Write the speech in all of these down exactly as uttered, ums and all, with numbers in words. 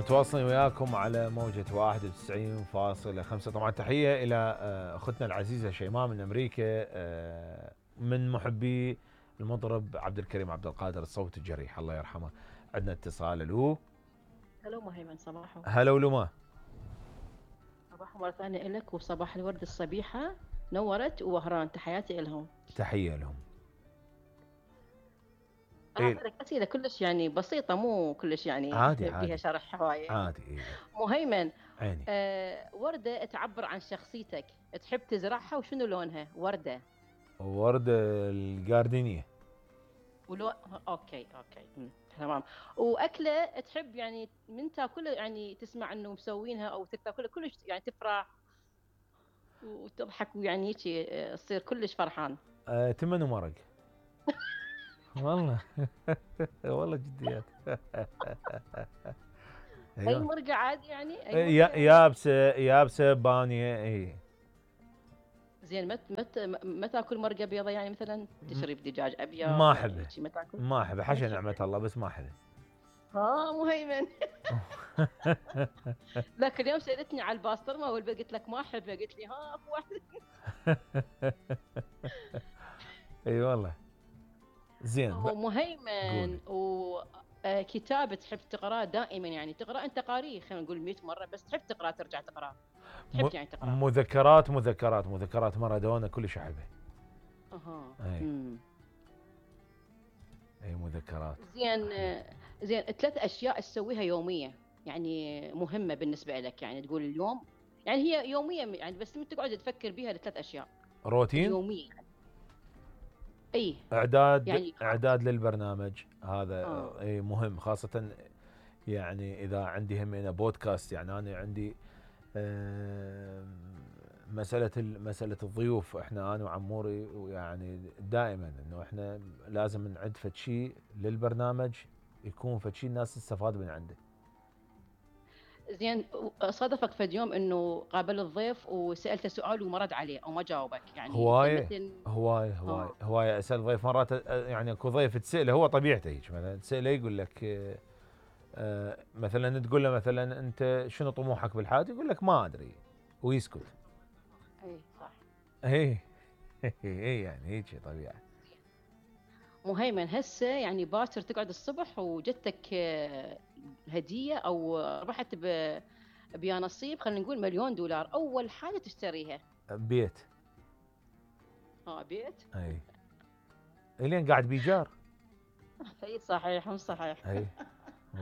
متواصلين وياكم على موجة واحد وتسعين فاصلة خمسة. طبعا تحية إلى أختنا العزيزة شيماء من أمريكا، من محبي المطرب عبد الكريم عبد القادر الصوت الجريح الله يرحمه. عندنا اتصال. الو هلو مهيمن، صباحو. هلا ولما صباحو مرة ثانية إلك، وصباح الورد الصبيحة نورت ووهران، تحياتي إلهم. تحية لهم. راح أسألك أسئلة كلش يعني بسيطة، مو كلش يعني عادي بيها عادي شرح هواية. عادي إيه. مهيمن، عيني. آه وردة تعبر عن شخصيتك، تحب تزرعها وشنو لونها؟ وردة وردة الجاردينية. ولو اوكي اوكي مم. تمام. واكله تحب يعني من تاكلها، يعني تسمع انه مسوينها او تاكلها كلش يعني تفرح وتضحك ويعني هيك تصير كلش فرحان؟ آه، تمن ومرق. والله والله جديات. اي ايوه. مرقه عادي يعني، اي يا- مرقه. يابسه يابسه بانيه اي. زين، مت مت ما تاكل مرقه بيضه يعني، مثلا تشرب دجاج ما ابيض احبه هيك ما تاكل؟ ما احبه ما حاشا نعمة تحبه؟ الله، بس ما احبه. ها مهيمن. ذاك اليوم سالتني على الباسترما والبيض، قلت لك ما احبه، قلت لي ها اكو واحد. اي والله. زين ب... ومهيمن، قولي. وكتاب تحب تقراه دائما، يعني تقرا انت قاريه خلينا نقول مئة مره، بس تحب تقرا ترجع تقراه، م... تحب يعني تقراه؟ مذكرات مذكرات مذكرات مارادونا كلش احبه. اها. اي امم اي مذكرات. زين. زين، ثلاث اشياء تسويها يوميه يعني مهمه بالنسبه لك، يعني تقول اليوم يعني هي يوميه يعني، بس انت تقعد تفكر بيها الثلاث اشياء روتين. اليوميه يعني. اي اعداد يعني خلاص. اعداد للبرنامج هذا اه اي مهم، خاصة يعني اذا عندي هم هنا بودكاست. يعني انا عندي مسألة مسألة الضيوف، احنا انا وعموري ويعني دائما انه احنا لازم نعد فد شيء للبرنامج، يكون فد شيء الناس تستفاد من عنده. زين، صادفك فد يوم انه قابل الضيف وسالته سؤال وما رد عليه او ما جاوبك، يعني انت هواية مثل؟ هواية هواية اه هواية اسأل ضيف مرات. يعني اكو ضيف تسأله هو طبيعته هيك، مثلا تسأله يقول لك آه، مثلا تقول له مثلا انت شنو طموحك بالحياة، يقول لك ما ادري ويسكت. اي صح. اي اي يعني هيك طبيعة. مهيمن، هسه يعني باكر تقعد الصبح وجتك آه، هديه او ربحت ب بيا نصيب، خلينا نقول مليون دولار، اول حاجه تشتريها؟ بيت. اه بيت. اي الين قاعد بيجار. اي صحيح، مو صحيح. اي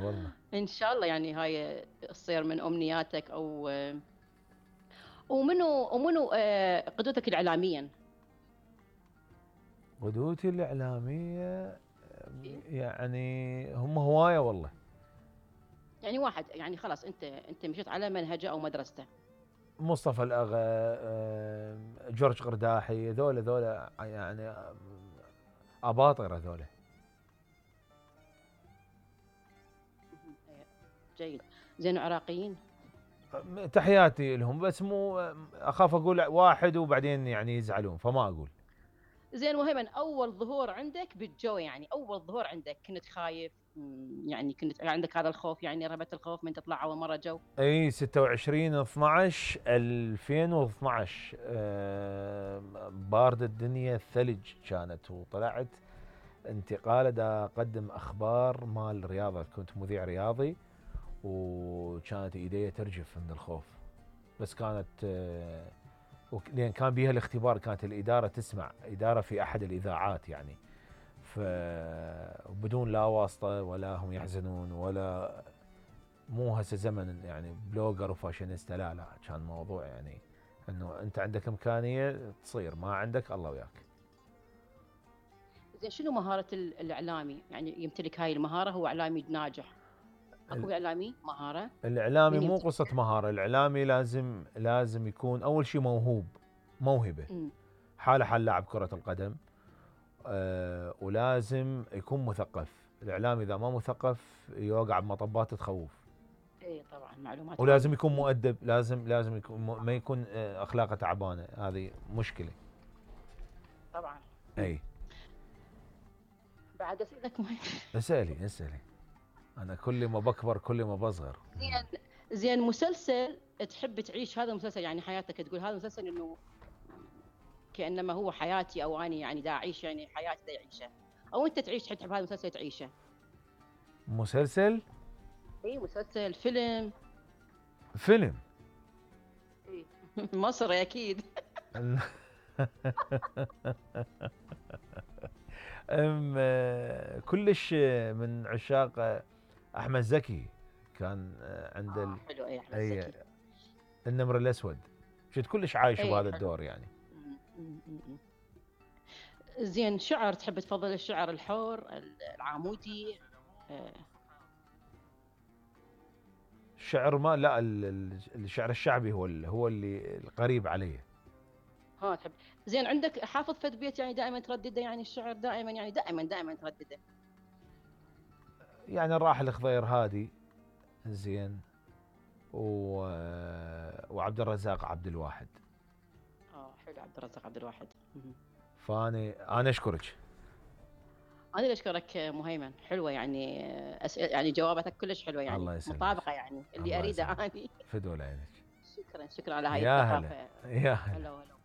والله. ان شاء الله يعني هاي تصير من امنياتك. او آه، ومنو ومنو آه، قدوتك الاعلاميا؟ قدوتي الإعلامية إيه؟ يعني هم هواية والله. يعني واحد يعني خلاص انت انت مشيت على منهجه او مدرسته. مصطفى الأغا، آه، جورج قرداحي، ذولا ذولا يعني أباطرة ذولا. مهم. إيه. جيد. زين، عراقيين؟ تحياتي لهم، بس مو أخاف أقول واحد وبعدين يعني يزعلون فما أقول. زين مهيمن، اول ظهور عندك بالجو، يعني اول ظهور عندك كنت خايف؟ مم، يعني كنت عندك هذا الخوف، يعني رهبة الخوف من تطلع اول مرة جو؟ اي ستة وعشرين اثنعش ألفين واثنعش، آه، بارد الدنيا الثلج كانت، وطلعت انتقال دا اقدم اخبار مال رياضه، كنت مذيع رياضي وكانت ايدي ترجف من الخوف. بس كانت آه، لان كان بيها الاختبار، كانت الاداره تسمع، اداره في احد الاذاعات يعني، فبدون لا واسطه ولا هم يحزنون ولا، مو هسه زمن يعني بلوجر وفاشينيستا، لا لا، كان موضوع يعني انه انت عندك امكانيه تصير، ما عندك الله وياك. زين، شنو مهارة ال- الاعلامي يعني يمتلك هاي المهارة، هو اعلامي ناجح؟ اكو اعلامي مهارة الاعلامي من مو قصه يمتلكها؟ مهاره، الاعلامي لازم لازم يكون اول شيء موهوب، موهبه، امم حاله حال لاعب كره القدم. أه ولازم يكون مثقف. الاعلامي اذا ما مثقف يوقع بمطبات تخوف. اي طبعا، معلومات ولازم عامة. يكون امم مؤدب، لازم لازم يكون ما طبعا يكون آه، اخلاقه تعبانه، هذه مشكله. طبعا. امم اي. بعد اسئلك مهم. اسالي اسالي. انا كل ما بكبر كل ما بصغر. زين زين مسلسل تحب تعيش هذا المسلسل يعني حياتك، تقول هذا المسلسل انه كانما هو حياتي، او اني يعني دا اعيش يعني حياتي دا يعيشها، او انت تعيش تحب هذا المسلسل تعيشه؟ مسلسل؟ اي مسلسل، فيلم. فيلم. اي مصري اكيد. ام كلش من عشاق احمد زكي، كان عند آه حلو. اي احمد اي زكي، النمر الاسود، شفت كلش عايش اي بهذا حلو. الدور يعني. م- م- م- م. زين شعر، تحب تفضل الشعر الحر العامودي؟ آه. الشعر ما لا ال- ال- الشعر الشعبي هو ال- هو اللي القريب عليه. ها تحب. زين عندك حافظ فد بيت يعني دائما تردده، يعني الشعر دائما يعني دائما دائما تردده؟ يعني الراحل الخضير هادي زين، و... وعبد الرزاق عبد الواحد. اه حلو عبد الرزاق عبد الواحد. م- فاني انا اشكرك. انا اللي اشكرك مهيمن، حلوه يعني أسئلة يعني جواباتك كلش حلوه يعني الله يسلمك. مطابقه يعني اللي الله اريده يسلمك. اني. فدول عينك. شكرا شكرا على هاي يا الثقافه. هلا يا هلا. هلا هلا.